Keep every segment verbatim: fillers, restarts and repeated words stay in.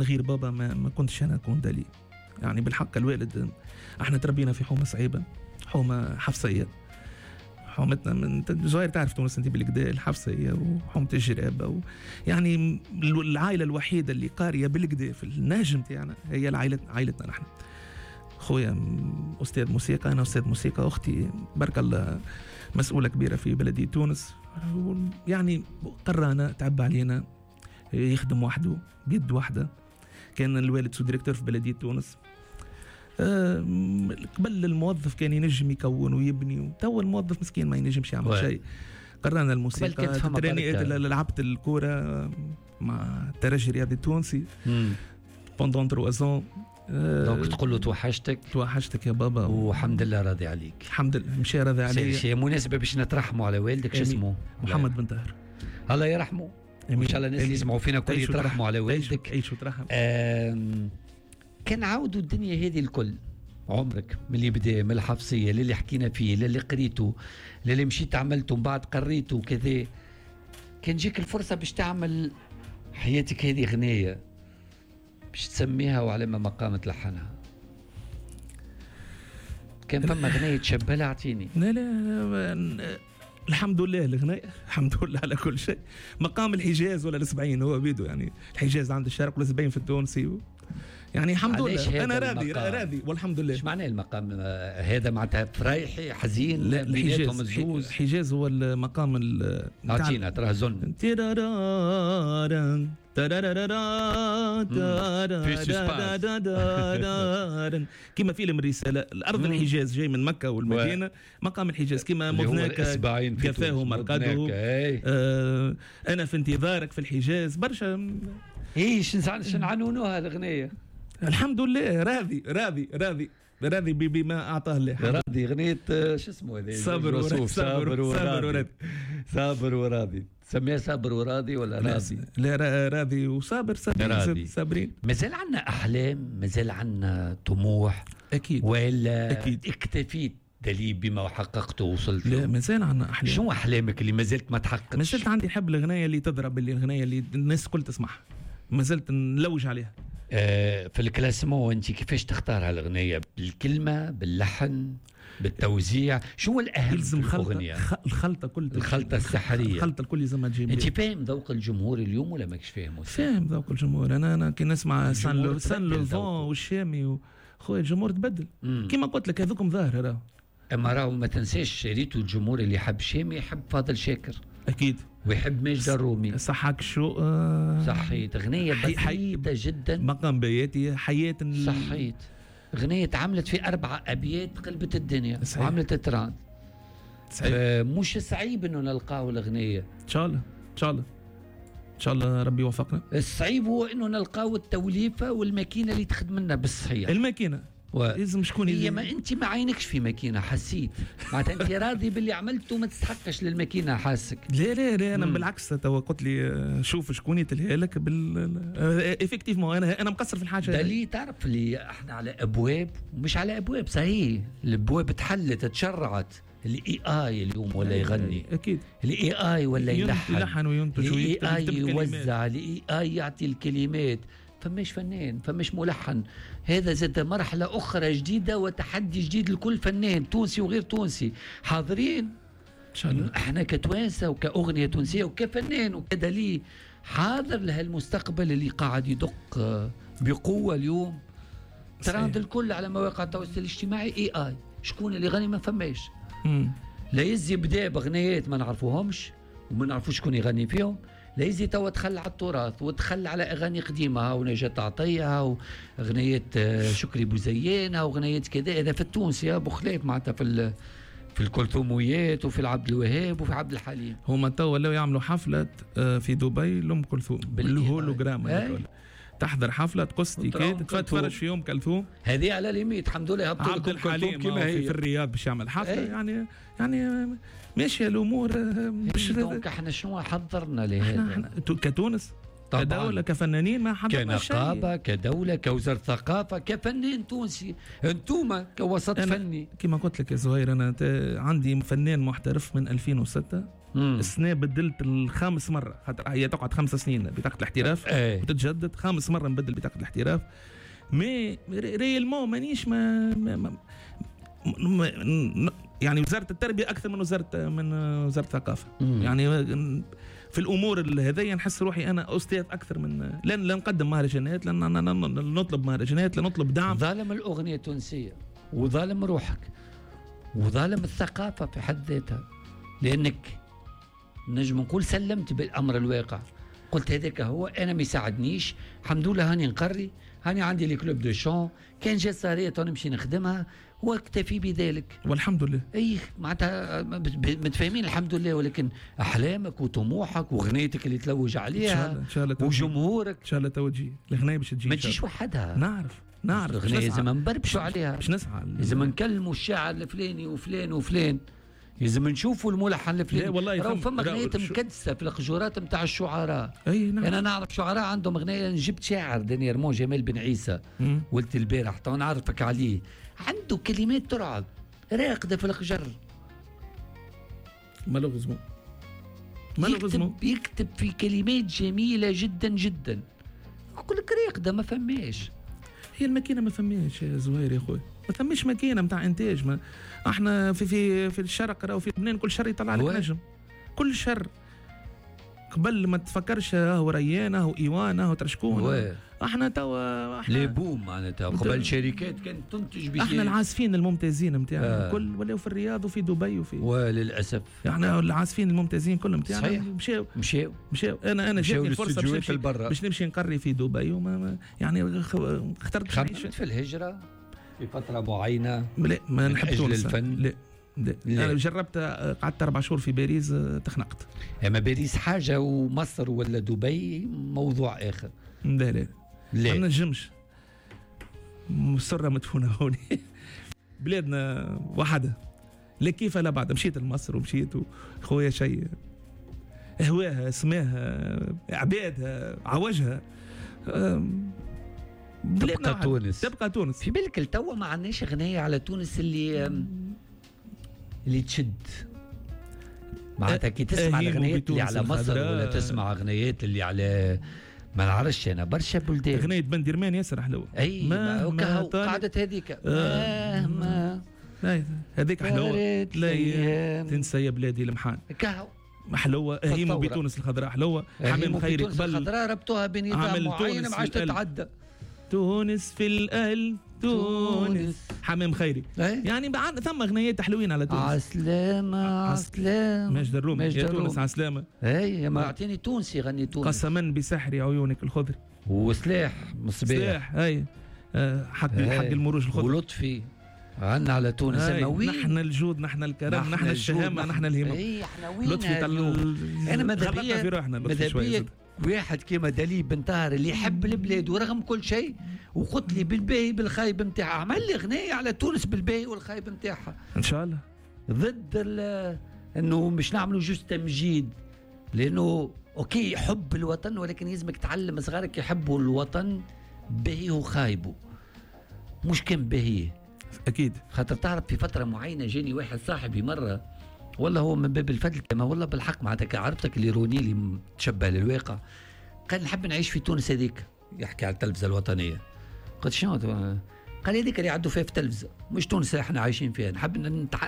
غير بابا ما, ما كنتش انا اكون دالي. يعني بالحق الوالد، احنا تربينا في حومه صعيبه، حومه حفصيه، حومتنا من زهير تعرف تونس انت بالكدا، الحفصية وحومه الجرابه و... يعني العائلة الوحيدة اللي قارية بالكدا في النهج نتاعنا هي العائلة، عائلتنا نحن. خويا استاذ موسيقى، انا استاذ موسيقى، اختي بارك الله مسؤولة كبيرة في بلديه تونس. يعني قرانا، تعب علينا، يخدم وحده بيد واحدة. كان الوالد sous-directeur في بلديه تونس. أه قبل الموظف كان ينجم يكون ويبني، تو الموظف مسكين ما ينجمش يعمل شيء. قرانا الموسيقى، تراني لعبت الكورة مع الترجي الرياضي التونسي pendant trois ans. donc تقول له توحشتك، توحشتك يا بابا، والحمد لله راضي عليك. الحمد لله مشى راضي علي. هي مناسبة باش نترحموا على والدك. شو اسمه؟ محمد بن طاهر، الله يرحمه. وان شاء الله الناس اللي يسمعوا فينا كل يترحموا على والدك. عيش وترحم. كان عاودوا الدنيا هذه الكل، عمرك من اللي بدا، من الحفصية للي حكينا فيه، للي قريته، للي مشيت عملته ومن بعد قريته وكذا، كان جيك الفرصة باش تعمل حياتك هذه غنية باش تسميها وعلى ما مقام تلحنها، كان فما غنية تشبه لها؟ اعطيني. لا لا الحمد لله الغناية، الحمد لله على كل شيء. مقام الحجاز ولا السبعين هو بيدو، يعني الحجاز عند الشرق ولا السبعين في التونسي و... يعني الحمد لله انا راضي راضي والحمد لله. ايش معناه المقام هذا؟ معناتها فرايحي حزين؟ لا، بيناتهم الزوز. الحجاز هو المقام ال اعطينا تراه زن كما فيلم الرسالة، الأرض الحجاز جاي من مكة والمدينة، مقام الحجاز كما مذناك كفاه مرقده، أنا في انتظارك في الحجاز. برشا ايه شنعنونوها الأغنية. الحمد لله راضي راضي راضي راضي بما أعطاه الله. راضي غنية شو اسمه هذا؟ صابر وراضي. صابر وراضي. صابر وراضي. تسميها صابر وراضي ولا راضي؟ لا راضي وصابر. صابرين صابرين. مازال عندنا أحلام، مازال عندنا طموح. أكيد. ولا أكيد. اكتفيت دليل بما حققته ووصلت له؟ لا مازال عندنا أحلام. شو أحلامك اللي مازلت ما تحققتش؟ مازلت عندي حب الغناية اللي تضرب، اللي الغناية اللي الناس الكل تسمعها، مازلت نلوج عليها. آه في ال classement انت كيفاش تختار هالغنية؟ بالكلمة، باللحن، بالتوزيع، شو الأهم يلزم في الأغنية؟ خلطة، الخلطة كل الخلطة السحرية، الخلطة الكل لازم تجيب. انت فاهم ذوق الجمهور اليوم ولا ماكش فاهمه؟ فاهم ذوق الجمهور. انا انا كي نسمع سان سان لوفون والشامي خويا الجمهور تبدل. كيما قلت لك هذوكم ظاهر راهو. اما راهو ما تنساش ريتو الجمهور اللي يحب شامي يحب فاضل شاكر اكيد، ويحب ماجد الرومي. صحك شو آه صحيت غنية بسيطة جدا، مقام بياتي حياة. صحيت غنية تعملت في أربعة أبيات قلبت الدنيا. صحيح. وعملت ترند. صحيح. مش صعيب إنه نلقاو الغنية إن شاء الله. إن شاء الله إن شاء الله ربي يوفقنا. الصعيب هو إنه نلقاو التوليفة والماكينة اللي تخدم لنا بالصحيح. الماكينة و... لازم شكون هي؟ ما انت ما عينكش في ماكينة، حسيت معناتها انت راضي باللي عملته وما تستحقش للماكينه، حاسك. لا لا لا انا مم. بالعكس توا قلت لي شوف شكون يتلهى لك بال effectivement. انا انا مقصر في الحاجة دلي. تعرف اللي احنا على ابواب، ومش على ابواب صحيح، الابواب تحلت تشرعت. ال AI اليوم ولا يغني اكيد، ال AI ولا يلحن يلحن وينتج، ال AI يوزع، ال AI يعطي الكلمات. فماش فنان، فماش ملحن. هذا زاد مرحلة أخرى جديدة وتحدي جديد لكل فنان تونسي وغير تونسي. حاضرين إن شاء الله احنا كتوانسة وكأغنية تونسية وكفنان وكدليل حاضر لهالمستقبل اللي قاعد يدق بقوة اليوم. تراند الكل على مواقع التواصل الاجتماعي AI. شكون اللي غني ما فماش. لا يزي بدا بغنيات ما نعرفوهمش وما نعرفوش شكون يغني فيهم. لا يزي توا تخلى على التراث وتخلى على اغاني قديمة ونجاة عطية واغنيات شكري بوزيان واغنيات كذا. هذا في التونسي ابو خلاف معناتها في في الكلثوميات وفي العبد الوهاب وفي عبد الحليم. هما توا ولاو يعملوا حفلة في دبي لام كلثوم بالهولوجرام، تحضر حفلة تقص ticket تتفرج في ام كلثوم. هذه على limite الحمد لله. هبطوا عبد الحليم كما هي في الرياض باش يعمل حفلة. ايه؟ يعني يعني ماشية الامور. مش donc احنا شنو حضرنا لهذا؟ احنا كتونس طبعا كدولة كفنانين ما حضرنا شيء، كنقابه كدولة كوزارة ثقافة كفنان تونسي، انتوما كوسط فني. كما قلت لك يا زهير انا عندي فنان محترف من ألفين وستة السنة بدلت الخامس مرة، خاطر هي تقعد خمس سنين بطاقة الاحتراف. ايه. وتتجدد خامس مرة نبدل بطاقة الاحتراف. mais réellement مانيش ما, ما, ما, ما يعني وزارة التربية اكثر من وزارة من وزارة الثقافة. مم. يعني في الامور هذيا نحس روحي انا استاذ اكثر من لن لا نقدم مهرجانات، لن نطلب مهرجانات، لا نطلب دعم. ظالم الاغنية التونسية وظالم روحك وظالم الثقافة في حد ذاتها، لانك نجم نقول سلمت بالامر الواقع، قلت هذاك هو، انا ما يساعدنيش الحمد لله، هاني نقري، هاني عندي les clubs de chant، كان جات سهريه نمشي نخدمها واكتفي بذلك والحمد لله. اي معناتها متفاهمين الحمد لله، ولكن احلامك وطموحك وغنيتك اللي تلوج عليها إن شاء الله وجمهورك ان شاء الله تو تجي الغنايه باش تجي، ما تجيش وحدها. نعرف نعرف الغنايه لازم نبربشوا عليها، باش نسعى، لازم نكلموا الشاعر الفلاني وفلان وفلان، لازم نشوفوا الملحن الفلاني. والله راهو فما غنايات مكدسه في القجورات نتاع الشعراء. اي نعم. انا نعرف شعراء عندهم غنايه، جبت شاعر dernièrement جمال بن عيسى ولد البارح تو نعرفك عليه، عنده كلمات ترعب راقده في القجر. malheureusement malheureusement يكتب في كلمات جميلة جدا جدا، يقول لك راقده ما فماش. هي الماكينة ما فماش يا زهير يا خويا، ما ثماش ماكينة نتاع انتاج. ما احنا في في في الشرق راهو في لبنان كل شر يطلع لك نجم، كل شر قبل ما تفكرش هو ريان هو ايوان هو ترشكون. احنا توا احنا les booms معناتها قبل شركات كانت تنتج بشيء. احنا العازفين الممتازين نتاعنا آه. كل ولاو في الرياض وفي دبي وفي، وللاسف احنا العازفين الممتازين كلهم نتاعنا مشاو مشاو مشاو. انا انا جاتني الفرصة باش نمشي باش نمشي نقري في دبي وما يعني اخترت خممت في الهجرة في فترة معينة. لا ما نحب تونس الفن. لا لا. لا. أنا جربت قعدت أربع شهور في باريس تخنقت. أما باريس حاجة ومصر ولا دبي موضوع آخر. لا لا لا ما نجمش، مسرة مدفونة هوني بلادنا وحدها لا كيف لا بعد. مشيت لمصر ومشيت خويا شيء هواها سماها عبادها عوجها. تبقى تونس، تبقى تونس. في بالك التوا ما عندناش غنية على تونس اللي اللي تشد معناتها. كي تسمع الغنيات اللي على مصر ولا تسمع غنيات اللي على ما نعرفش انا برشا بلدان، غنية بندرمان ياسر حلوة. اي ما ما قعدت هذيك مهما هذيك حلوة، لا تنسى يا بلادي المحان كهو حلوة. هيمو بتونس الخضراء حلوة، حمام خيري قبل الخضراء ربطوها بنظام معين ما عادش تتعدى. تونس في القلب تونس حمام خيري. ايه؟ يعني بعد ثم غنيات حلوين على تونس. عسلامة عسلامة ماجد الرومي يا تونس عسلامة. اي ما اعطيني تونسي غني تونس. قسما بسحر عيونك الخضر وسلاح مصباح. سلاح اي حق اي. حق المروج الخضر ولطفي غنى على تونس. اما نحن الجود نحن الكرم نحن الشهامة نحن الهمم. اي احنا وين لطفي انا ماذا بيا في روحنا ماذا بيا واحد كيما دالي بن طاهر اللي يحب البلاد ورغم كل شيء وقلت لي بالباهي بالخايب نتاعها، عمل لي غنايه على تونس بالباهي والخايب نتاعها ان شاء الله، ضد انه مش نعملوا juste تمجيد، لانه OK حب الوطن ولكن لازمك تعلم صغارك يحبوا الوطن باهيه وخايبه مش كان باهيه. اكيد خاطر تعرف في فترة معينة جاني واحد صاحبي مرة والله هو من باب الفضل كما والله بالحق معناتها عرفتك اللي روني اللي تشبه للواقع، قال نحب نعيش في تونس هذيك، يحكي على التلفزة الوطنية. قلت شنو؟ قال هذيك اللي يعدوا فيها في التلفزة مش تونس اللي احنا عايشين فيها، نحب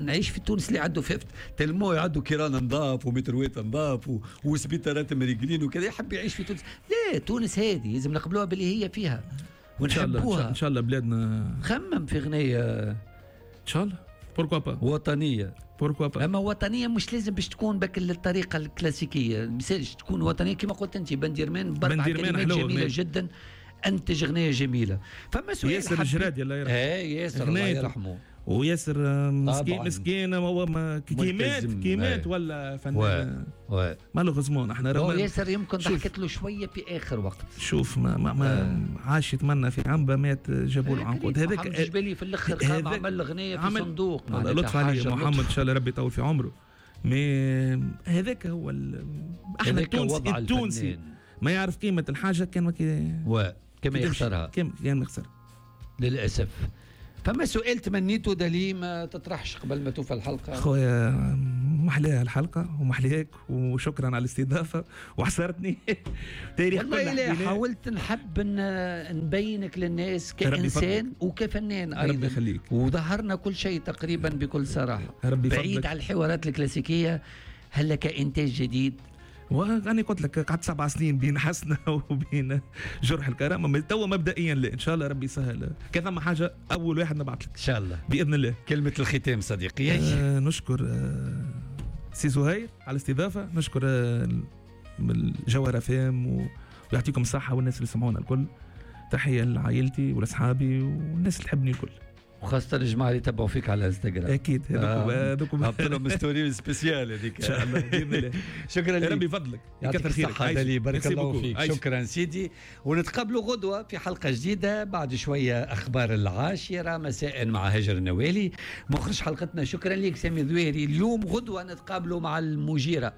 نعيش في تونس اللي يعدوا فيها تلمو يعدوا كيران نظاف ومتروات نظاف وسبيطارات مريقلين وكذا، يحب يعيش في تونس. لا تونس هذه لازم نقبلوها باللي هي فيها ونحبوها. ان شاء الله بلادنا. خمم في غنية ان شاء الله pourquoi pas وطنية. pourquoi pas اما وطنية مش لازم باش تكون بك الطريقة الكلاسيكية، مثالش تكون وطنية كما قلت انت. بنديرمان باربع كلمات جميلة جدا انتج غنية جميلة. فما سؤال ياسر الجرادي الله يرحمه. اي ياسر الله يرحمه. وياسر مسكين مسكين هو كي مات كي مات ولا فنان malheureusement. احنا راه ياسر يمكن ضحكت له شوية في اخر وقت. شوف ما ما, ما عاش يتمنى في عنبة مات جابوا له عنقود. هذاك محمد الجبالي في الاخر قام عمل غنية في صندوق. لطف عليه محمد ان شاء الله ربي يطول في عمره. mais هذاك هو احنا التونسي التونسي ما يعرف قيمة الحاجة كان ما كما يخسرها كما يخسر للاسف. فما سؤال تمنيته دالي ما تطرحش قبل ما توفى الحلقة؟ خويا محلاها الحلقة ومحلاك، وشكرا على الاستضافة وحصرتني. تاريخ والله لا، حاولت نحب نبينك للناس كإنسان وكفنان أيضا. ربي يخليك. وظهرنا كل شيء تقريبا بكل صراحة، ربي بعيد على الحوارات الكلاسيكية. هل لك إنتاج جديد؟ وأنا قلت لك قعدت سبع سنين بين حسنة وبين جرح الكرامة. توا مبدئيا لا، إن شاء الله ربي يسهل. كان ثم حاجة أول واحد نبعث لك إن شاء الله بإذن الله. كلمة الختام صديقي. آه نشكر آه سي زهير على الاستضافة، نشكر آه الجوهرة فام ويعطيكم الصحة والناس اللي سمعونا الكل. تحية لعائلتي ولأصحابي والناس اللي تحبني الكل، وخاصة الجماعة اللي تبعوا فيك على انستغرام. أكيد هذوك هذوك هبط لهم story spéciale هذيك إن شاء الله بإذن الله. شكرا لك، ربي يفضلك، يكثر خيرك. بارك الله فيك. شكرا سيدي، ونتقابلوا غدوة في حلقة جديدة بعد شوية. أخبار العاشرة مساء مع هاجر النوالي مخرج حلقتنا. شكرا لك سامي ذويري. اليوم غدوة نتقابلوا مع المجيرة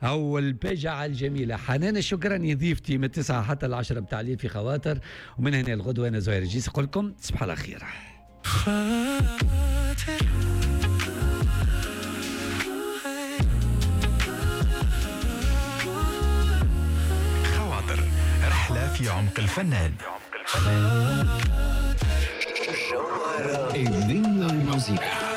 أو البجعة الجميلة حنان الشكراني ضيفتي من التسعة حتى العشرة بتاع الليل في خواطر. ومن هنا الغدوة أنا زهير الجيس أقول لكم تصبحوا على خير. خاطر خواطر، رحلة في عمق الفنان. الدنيا الموسيقى.